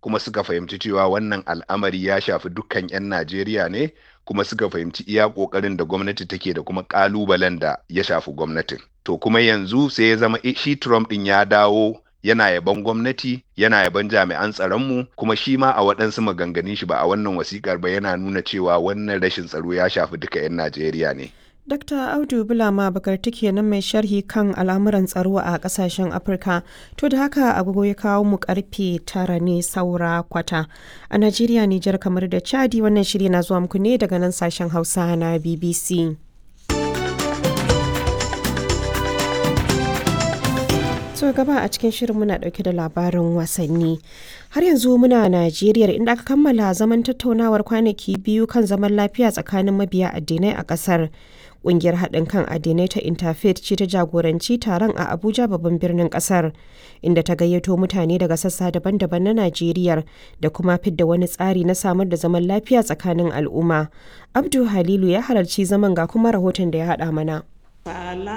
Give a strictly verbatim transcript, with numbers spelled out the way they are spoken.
Kuma suka fahimci cewa wannan al'amari ya shafi dukkan 'yan Najeriya ne, kuma suka fahimci iya ƙoƙarin da gwamnati take da kuma ƙalubalen da ya shafi gwamnatin. To kuma yanzu sai ya zama shi Trump ɗin ya dawo yana yaban gwamnati, yana yaban jami'an tsaronmu, kuma shi ma a waɗansu maganganun shi, ba a wannan wasikar ba, yana nuna cewa wannan rashin tsaro ya shafi duka 'yan Najeriya ne. Dakta Audu Bulama Bakarti kenan, mai sharhi kan al'amuran tsaro a kasashen Afirka. To da haka agogo ya kawo mu karfe tara ne saura kwata. A Najeriya, Nijar, kamar da Chadi, wannan shiri na zuwa muku ne daga nan sashen Hausa na B B C. So gaba a cikin shirin muna dauke da labarin wasanni. Har yanzu muna Najeriya, inda aka kammala zaman tattaunawar kwanaki biyu kan zaman lafiya tsakanin mabiya addinai a kasar. Ƙungiyar haɗin kan addinai ta Interfaith ce ta jagoranci taron a Abuja, babban birnin ƙasar, inda ta gayyato mutane daga sassa daban-daban na Najeriya da kuma fidda wani tsari na samar da zaman lafiya tsakanin al'umma. Abdu Halilu ya halarci zaman, ga kuma rahoton da ya haɗa mana.